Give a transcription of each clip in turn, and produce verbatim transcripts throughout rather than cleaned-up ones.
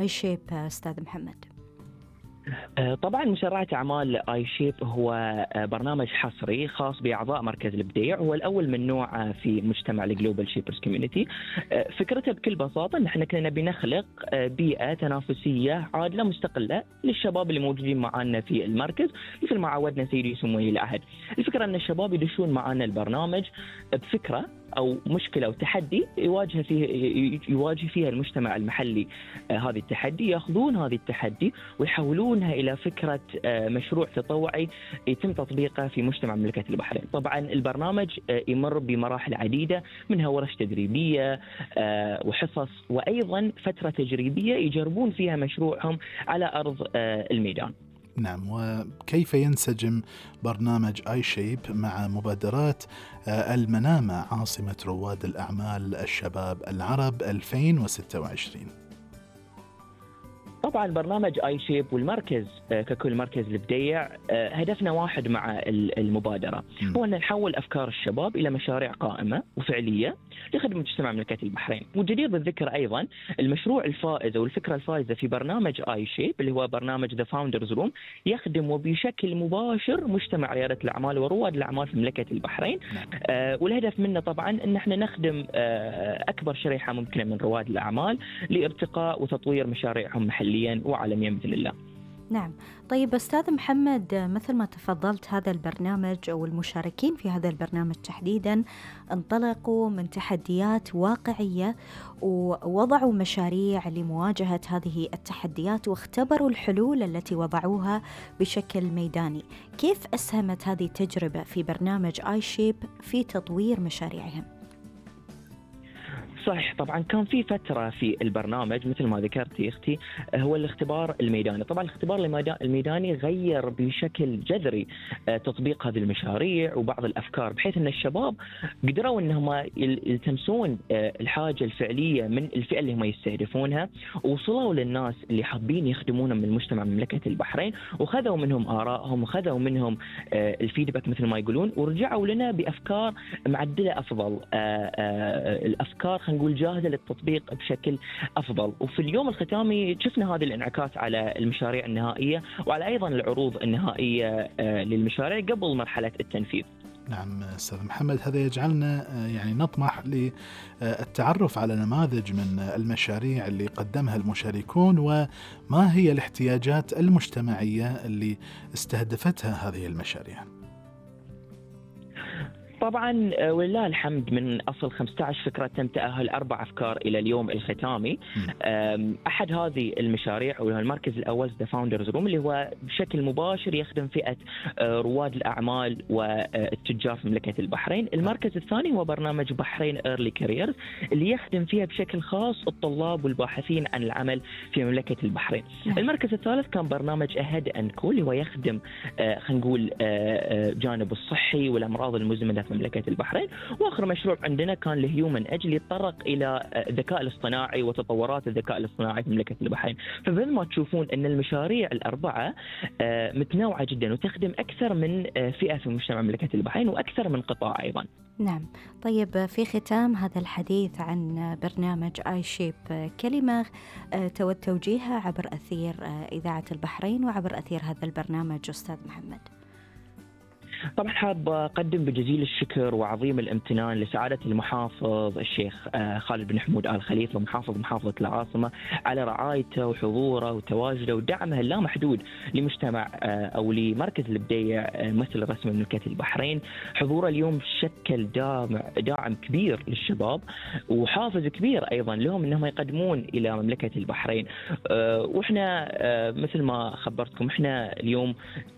اي شيب أستاذ محمد؟ آه، طبعا مسرعة أعمال آي شيب هو آه، برنامج حصري خاص بأعضاء مركز الإبداع. هو الأول من نوعه في مجتمع الجلوبال شيبرز كوميونيتي. فكرته بكل بساطة إن احنا كنا نبي نخلق آه، بيئة تنافسية عادلة مستقلة للشباب اللي موجودين معنا في المركز، مثل ما عودنا سيدي سموه العهد. الفكرة أن الشباب يدشون معنا البرنامج بفكرة أو مشكلة أو تحدي يواجه فيه يواجه فيها المجتمع المحلي. آه، هذه التحدي يأخذون هذه التحدي ويحولونها إلى فكرة آه، مشروع تطوعي يتم تطبيقه في مجتمع مملكة البحرين. طبعا البرنامج آه، يمر بمراحل عديدة، منها ورش تدريبية آه، وحصص، وأيضا فترة تجريبية يجربون فيها مشروعهم على أرض آه، الميدان. نعم، وكيف ينسجم برنامج آي شيب مع مبادرات المنامة عاصمة رواد الأعمال الشباب العرب ألفين وستة وعشرين؟ طبعا برنامج آي شيب والمركز ككل مركز الإبداع هدفنا واحد مع المبادرة، هو أن نحول أفكار الشباب إلى مشاريع قائمة وفعلية لخدمة مجتمع مملكة البحرين. وجدير بالذكر أيضا المشروع الفائز أو الفكرة الفائزة في برنامج آي شيب اللي هو برنامج The Founders Room يخدم وبشكل مباشر مجتمع ريادة الأعمال ورواد الأعمال في مملكة البحرين. آه والهدف منه طبعا أن احنا نخدم آه أكبر شريحة ممكنة من رواد الأعمال لارتقاء وتطوير مشاريعهم محليا وعالميا بإذن الله. نعم. طيب أستاذ محمد، مثل ما تفضلت، هذا البرنامج أو المشاركين في هذا البرنامج تحديدا انطلقوا من تحديات واقعية ووضعوا مشاريع لمواجهة هذه التحديات واختبروا الحلول التي وضعوها بشكل ميداني. كيف أسهمت هذه التجربة في برنامج آي شيب في تطوير مشاريعهم؟ صحيح، طبعا كان في فترة في البرنامج مثل ما ذكرتي أختي هو الاختبار الميداني. طبعا الاختبار الميداني غير بشكل جذري تطبيق هذه المشاريع وبعض الأفكار، بحيث أن الشباب قدروا أنهم يلتمسون الحاجة الفعلية من الفئة اللي هم يستهدفونها، ووصلوا للناس اللي حابين يخدمونهم من المجتمع مملكة البحرين، وخذوا منهم آرائهم وخذوا منهم الفيدباك مثل ما يقولون، ورجعوا لنا بأفكار معدلة أفضل، الأفكار نقول جاهزة للتطبيق بشكل أفضل. وفي اليوم الختامي شفنا هذه الانعكاس على المشاريع النهائية وعلى أيضا العروض النهائية للمشاريع قبل مرحلة التنفيذ. نعم أستاذ محمد، هذا يجعلنا يعني نطمح للتعرف على نماذج من المشاريع اللي قدمها المشاركون، وما هي الاحتياجات المجتمعية اللي استهدفتها هذه المشاريع. طبعا ولله الحمد من أصل خمسة عشر فكرة تم تأهل أربع أفكار إلى اليوم الختامي. أحد هذه المشاريع وهو المركز الأول The Founders Room اللي هو بشكل مباشر يخدم فئة رواد الأعمال والتجار في مملكة البحرين. المركز الثاني هو برنامج بحرين Early Careers اللي يخدم فيها بشكل خاص الطلاب والباحثين عن العمل في مملكة البحرين. المركز الثالث كان برنامج Ahead and Cool اللي هو يخدم خلينا نقول جانب الصحي والأمراض المزمنة في مملكة البحرين. وآخر مشروع عندنا كان لهيومن أجل يتطرق إلى الذكاء الاصطناعي وتطورات الذكاء الاصطناعي في مملكة البحرين. فبدل ما تشوفون أن المشاريع الأربعة متنوعة جدا وتخدم أكثر من فئة في مجتمع مملكة البحرين وأكثر من قطاع أيضا. نعم. طيب في ختام هذا الحديث عن برنامج آي شيب، كلمة تود توجيهها عبر أثير إذاعة البحرين وعبر أثير هذا البرنامج أستاذ محمد؟ طبعا حاب أقدم بجزيل الشكر وعظيم الامتنان لسعادة المحافظ الشيخ خالد بن حمود آل خليفة محافظ محافظة العاصمة على رعايته وحضوره وتواجده ودعمه اللامحدود لمجتمع أو لمركز الإبداع مثل رسم مملكة البحرين. حضوره اليوم شكل داعم داعم كبير للشباب وحافز كبير أيضا لهم أنهم يقدمون إلى مملكة البحرين. وإحنا مثل ما خبرتكم إحنا اليوم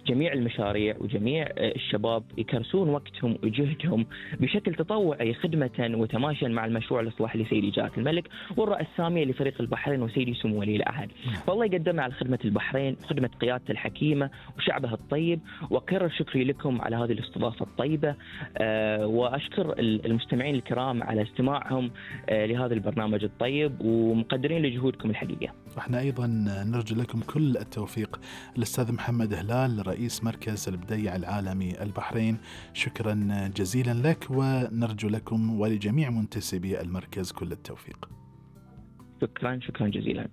جميع المشاريع وجميع الشباب يكرسون وقتهم وجهدهم بشكل تطوعي خدمة وتماشيا مع المشروع الإصلاحي لسيدي جلالة الملك والرئاسة السامية لفريق البحرين وسيدي سمو ولي العهد. والله يقدمنا على خدمة البحرين وخدمة قيادته الحكيمة وشعبها الطيب، وأكرر شكري لكم على هذه الاستضافة الطيبة. أه وأشكر المستمعين الكرام على استماعهم أه لهذا البرنامج الطيب ومقدرين لجهودكم الحقيقية. احنا أيضا نرجو لكم كل التوفيق. الأستاذ محمد هلال رئيس مركز الإبداع العالمي البحرين، شكرا جزيلا لك، ونرجو لكم ولجميع منتسبي المركز كل التوفيق. شكرا شكرا جزيلا.